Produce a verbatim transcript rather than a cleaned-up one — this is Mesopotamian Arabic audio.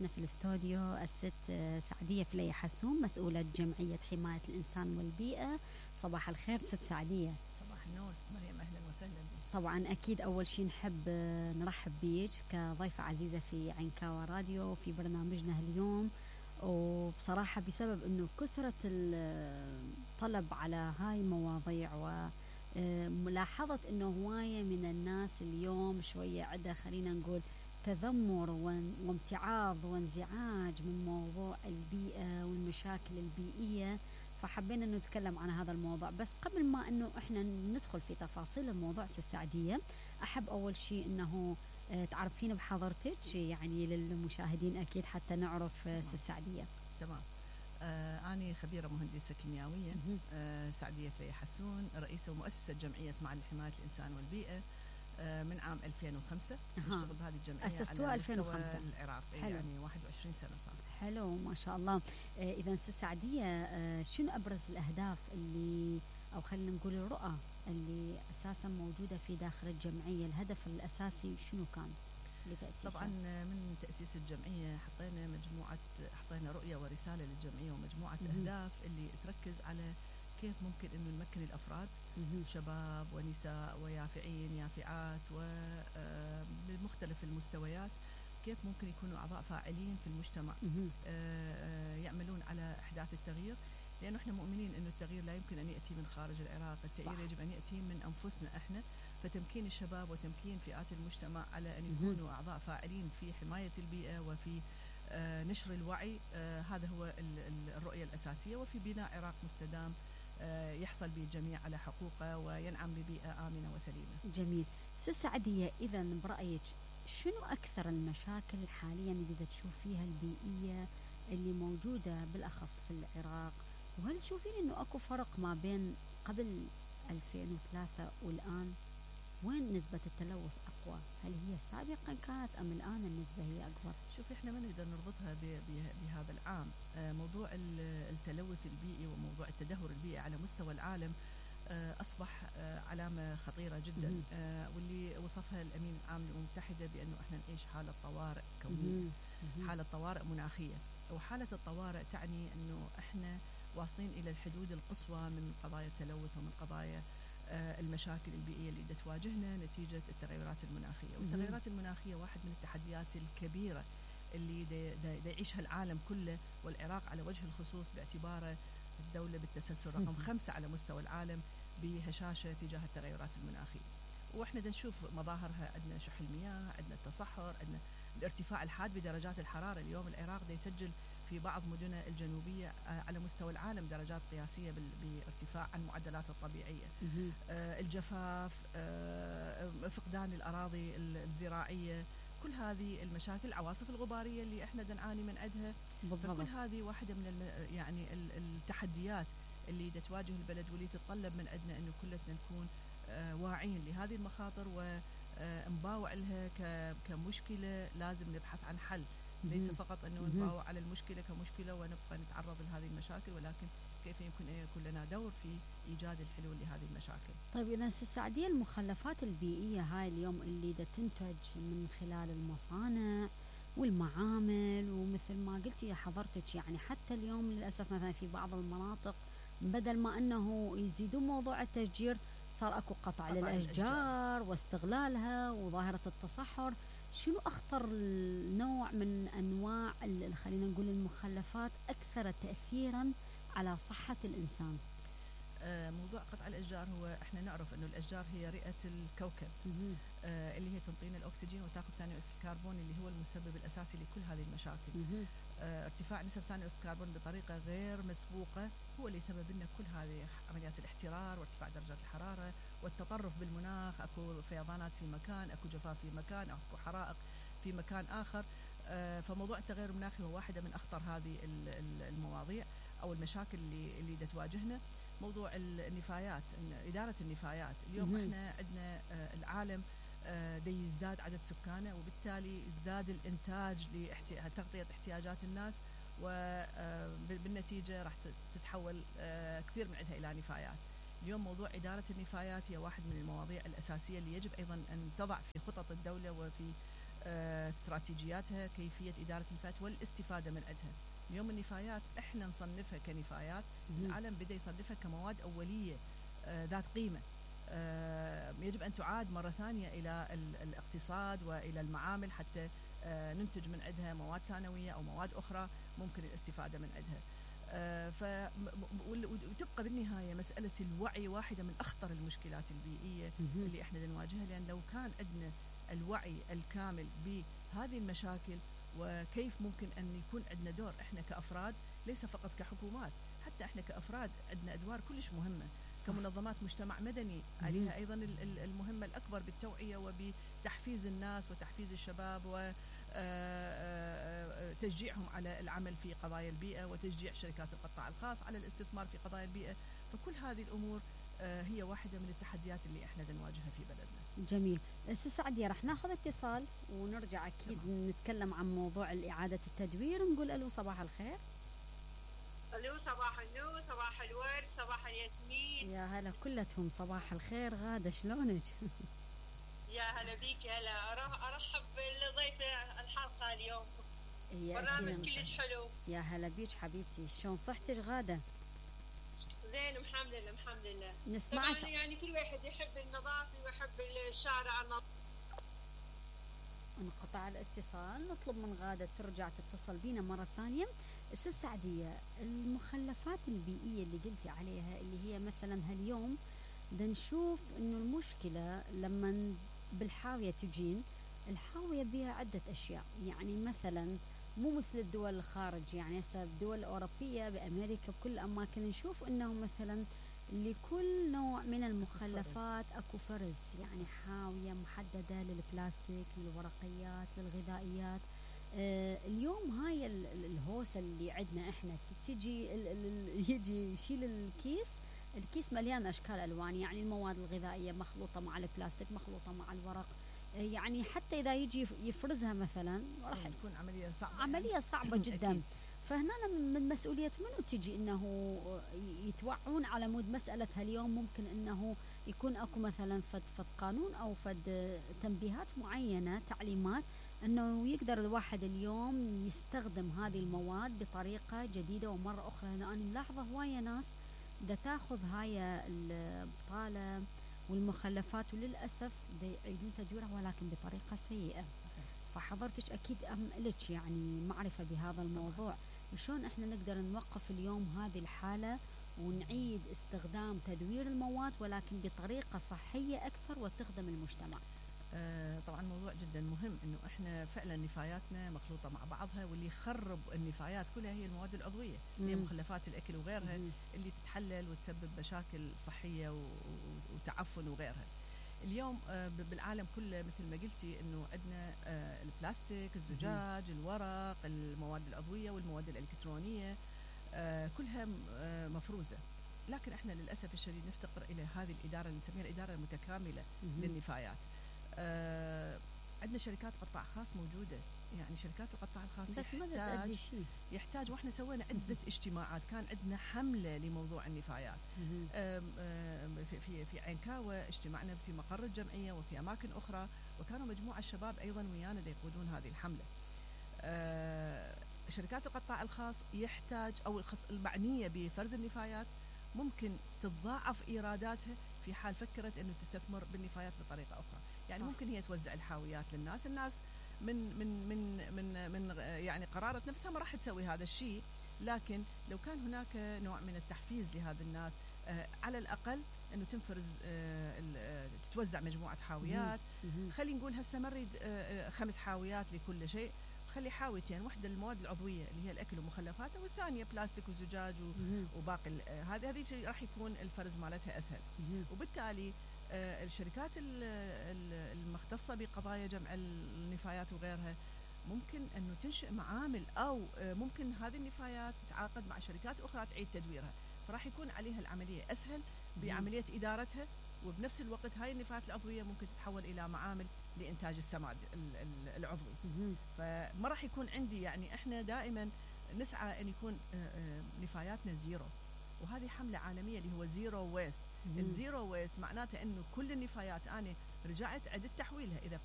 ضيفتنا في الاستوديو الست سعدية فلي حسون، مسؤولة جمعية حماية الإنسان والبيئة. صباح الخير ست سعدية. صباح النور مريم، أهلا وسهلا بك. طبعا أكيد أول شيء نحب نرحب بيك كضيفة عزيزة في عنكاوى راديو في برنامجنا اليوم، وبصراحة بسبب أنه كثرة الطلب على هاي المواضيع وملاحظة أنه هواية من الناس اليوم شوية عدة خلينا نقول تذمر وامتعاض وانزعاج من موضوع البيئة والمشاكل البيئية، فحبينا أنه نتكلم عن هذا الموضوع. بس قبل ما أنه إحنا ندخل في تفاصيل الموضوع السعدية، أحب أول شيء أنه تعرفين بحضرتك يعني للمشاهدين أكيد حتى نعرف السعدية. تمام. آه أنا خبيرة مهندسة كيميائية، آه سعدية فلي حسون، رئيسة ومؤسسة جمعية معا لحماية الإنسان والبيئة آه من عام ألفين وخمسة. أشتغل بهذه الجمعية أسستوها ألفين وخمسة العراق، يعني واحد وعشرين سنة صار. حلو ما شاء الله. آه إذا سعدية، آه شنو أبرز الأهداف اللي أو خلينا نقول الرؤى اللي أساسا موجودة في داخل الجمعية؟ الهدف الأساسي شنو كان لتأسيسها؟ طبعا من تأسيس الجمعية حطينا مجموعة حطينا رؤية ورسالة للجمعية ومجموعة مم. أهداف اللي تركز على كيف ممكن أنه نمكن الأفراد مم. شباب ونساء ويافعين يافعات وبمختلف المستويات، كيف ممكن يكونوا أعضاء فاعلين في المجتمع، مم. يعملون على إحداث التغيير، لأنه إحنا مؤمنين أنه التغيير لا يمكن أن يأتي من خارج العراق، التغيير يجب أن يأتي من أنفسنا إحنا. فتمكين الشباب وتمكين فئات المجتمع على أن يكونوا أعضاء فاعلين في حماية البيئة وفي آه نشر الوعي، آه هذا هو الرؤية الأساسية، وفي بناء عراق مستدام آه يحصل به الجميع على حقوقه وينعم ببيئة آمنة وسليمة. جميل. ست سعدية، إذا برأيك شنو أكثر المشاكل حاليا اللي تشوف فيها البيئية اللي موجودة بالأخص في العراق؟ وهل تشوفين إنه أكو فرق ما بين قبل ألفين وثلاثة والآن؟ وين نسبة التلوث أقوى؟ هل هي سابقا كانت أم الآن النسبة هي أكبر؟ شوف، إحنا ما نقدر نربطها بهذا العام. موضوع التلوث البيئي وموضوع التدهور البيئي على مستوى العالم أصبح علامة خطيرة جدا، واللي وصفها الأمين العام للأمم المتحدة بأنه إحنا نعيش حالة طوارئ كونية، حالة طوارئ مناخية. وحالة الطوارئ تعني أنه إحنا واصلين إلى الحدود القصوى من قضايا التلوث ومن قضايا المشاكل البيئية اللي تواجهنا نتيجة التغيرات المناخية. والتغيرات المناخية واحد من التحديات الكبيرة اللي دا دا دا يعيشها العالم كله، والعراق على وجه الخصوص باعتباره الدولة بالتسلسل رقم خمسة على مستوى العالم بهشاشة تجاه التغيرات المناخية. واحنا دا نشوف مظاهرها، عندنا شح المياه، عندنا التصحر، عندنا الارتفاع الحاد بدرجات الحرارة. اليوم العراق دا يسجل في بعض مدنه الجنوبية على مستوى العالم درجات قياسية بارتفاع عن المعدلات الطبيعية. آه الجفاف، آه فقدان الأراضي الزراعية، كل هذه المشاكل، العواصف الغبارية اللي احنا نعاني من عندها. فكل هذه واحدة من الم يعني التحديات اللي تواجه البلد، واللي تتطلب من عندنا انه كلنا نكون آه واعين لهذه المخاطر ونباوع لها كمشكلة لازم نبحث عن حل. ليس فقط أنه نباوع على المشكلة كمشكلة ونبقى نتعرض لهذه المشاكل، ولكن كيف يمكن أن يكون لنا دور في إيجاد الحلول لهذه المشاكل. طيب إذا السعدية، المخلفات البيئية هاي اليوم اللي دا تنتج من خلال المصانع والمعامل، ومثل ما قلتي يا حضرتك يعني حتى اليوم للأسف مثلا في بعض المناطق بدل ما أنه يزيدوا موضوع التشجير صار أكو قطع للأشجار واستغلالها وظاهرة التصحر. شنو أخطر نوع من أنواع خلينا نقول المخلفات أكثر تأثيرا على صحة الإنسان؟ آه موضوع قطع الأشجار، هو إحنا نعرف أنه الأشجار هي رئة الكوكب، آه اللي هي تنطينا الأكسجين وتأخذ ثاني أكسيد الكربون اللي هو المسبب الأساسي لكل هذه المشاكل. آه ارتفاع نسب ثاني أكسيد الكربون بطريقة غير مسبوقة هو اللي سبب لنا كل هذه عمليات الاحترار وارتفاع درجات الحرارة والتطرف بالمناخ. أكو فيضانات في مكان، أكو جفاف في مكان، أكو حرائق في مكان آخر. آه فموضوع التغير المناخي هو واحدة من أخطر هذه المواضيع أو المشاكل اللي اللي تواجهنا. موضوع النفايات، إدارة النفايات. اليوم مم. احنا عندنا آه العالم آه دي يزداد عدد سكانه، وبالتالي يزداد الإنتاج لتغطية احتياجات الناس، وبالنتيجة راح تتحول آه كثير من عندها إلى نفايات. اليوم موضوع إدارة النفايات هي واحد من المواضيع الأساسية اللي يجب أيضا أن تضع في خطط الدولة وفي استراتيجياتها، كيفية إدارة النفايات والاستفادة من عندها. اليوم النفايات احنا نصنفها كنفايات، العالم بدأ يصنفها كمواد أولية ذات قيمة، يجب أن تعاد مرة ثانية إلى الاقتصاد وإلى المعامل حتى ننتج من عندها مواد ثانوية أو مواد أخرى ممكن الاستفادة من عندها. ف وتبقى بالنهاية مسألة الوعي واحدة من أخطر المشكلات البيئية اللي احنا نواجهها، لأن لو كان عندنا الوعي الكامل بهذه المشاكل وكيف ممكن أن يكون عندنا دور احنا كأفراد، ليس فقط كحكومات، حتى احنا كأفراد عندنا أدوار كلش مهمة. صح. كمنظمات مجتمع مدني عليها أيضا المهمة الأكبر بالتوعية وبتحفيز الناس وتحفيز الشباب وتشجيعهم على العمل في قضايا البيئة وتشجيع شركات القطاع الخاص على الاستثمار في قضايا البيئة. فكل هذه الأمور هي واحدة من التحديات اللي احنا نواجهها في بلدنا. جميل. أستاذ سعدية، رح ناخذ اتصال ونرجع أكيد تمام. نتكلم عن موضوع إعادة التدوير. نقول ألو صباح الخير. الو صباح النور، صباح الورد، صباح الياسمين. يا هلا كلتهم صباح الخير. غادة شلونك؟ يا هلا بيك. هلا ارحب بالضيفة الحلقة اليوم، برنامج كلش حلو. يا هلا بيك حبيبتي، شلون صحتك غادة؟ زين الحمد لله الحمد لله. نسمعك. طبعا يعني كل واحد يحب النظافة ويحب الشارع النظيف. انقطع الاتصال، نطلب من غادة ترجع تتصل بينا مرة ثانية. أستاذ سعدية، المخلفات البيئية اللي قلتي عليها اللي هي مثلا هاليوم بدنا نشوف انه المشكلة لما بالحاوية تجين، الحاوية بها عدة اشياء، يعني مثلا مو مثل الدول الخارج، يعني هسه الدول الأوروبية بأمريكا بكل الأماكن نشوف انه مثلا لكل نوع من المخلفات اكو فرز، يعني حاوية محددة للبلاستيك، للورقيات، للغذائيات. آه اليوم هاي الهوسة اللي عندنا احنا تجي يجي يشيل الكيس، الكيس مليان اشكال الوان، يعني المواد الغذائية مخلوطة مع البلاستيك، مخلوطة مع الورق، آه يعني حتى اذا يجي يفرزها مثلا راح تكون عملية صعبة، عملية يعني. صعبة جدا. فهنا من مسؤولية منو تجي انه يتوعون على مود مسألة هاليوم ممكن انه يكون اكو مثلا فد فد قانون او فد تنبيهات معينة، تعليمات انه يقدر الواحد اليوم يستخدم هذه المواد بطريقة جديدة. ومرة اخرى انا ملاحظة هواية ناس دا تاخذ هاي البطالة والمخلفات وللأسف دا يعيدون تدويرها ولكن بطريقة سيئة. فحضرتك اكيد ام لك يعني معرفة بهذا الموضوع، شلون احنا نقدر نوقف اليوم هذه الحالة ونعيد استخدام تدوير المواد ولكن بطريقة صحية اكثر وتخدم المجتمع؟ آه طبعا موضوع جدا مهم، انه احنا فعلا نفاياتنا مخلوطة مع بعضها، واللي يخرب النفايات كلها هي المواد العضوية، هي مخلفات الاكل وغيرها مم. اللي تتحلل وتسبب مشاكل صحية وتعفن وغيرها. اليوم بالعالم كله مثل ما قلتي انه عندنا البلاستيك، الزجاج، الورق، المواد العضوية والمواد الالكترونية كلها مفروزة، لكن احنا للاسف الشديد نفتقر الى هذه الادارة اللي نسميها الادارة المتكاملة للنفايات. عندنا شركات قطاع خاص موجودة، يعني شركات القطاع الخاص بس يحتاج, يحتاج واحنا سوينا عدة اجتماعات، كان عندنا حملة لموضوع النفايات. أم أم في, في, في عينكاوة اجتمعنا في مقر الجمعية وفي أماكن أخرى، وكانوا مجموعة الشباب أيضا ويانا يقودون هذه الحملة. شركات القطاع الخاص يحتاج أو المعنية بفرز النفايات ممكن تتضاعف إيراداتها في حال فكرت أنه تستثمر بالنفايات بطريقة أخرى. يعني صح. ممكن هي توزع الحاويات للناس، الناس من من من من من يعني قرارة نفسها ما راح تسوي هذا الشيء، لكن لو كان هناك نوع من التحفيز لهذا الناس، آه على الأقل أنه تنفرز آه تتوزع مجموعة حاويات. خلي نقول هسه ما نريد آه خمس حاويات لكل شيء، خلي حاويتين، واحدة للمواد العضوية اللي هي الأكل ومخلفاته، والثانية بلاستيك وزجاج وباقي هذه هذه راح يكون الفرز مالتها أسهل. وبالتالي آه الشركات المختصة بقضايا جمع النفايات وغيرها ممكن أنه تنشئ معامل، أو آه ممكن هذه النفايات تتعاقد مع شركات أخرى تعيد تدويرها، فراح يكون عليها العملية أسهل بعملية إدارتها، وبنفس الوقت هاي النفايات العضوية ممكن تتحول إلى معامل لإنتاج السماد العضوي. فما راح يكون عندي، يعني إحنا دائما نسعى أن يكون آه آه نفاياتنا زيرو، وهذه حملة عالمية اللي هو زيرو ويست. الزيرو ويست معناته أنه كل النفايات أنا رجعت عدت تحويلها، إذا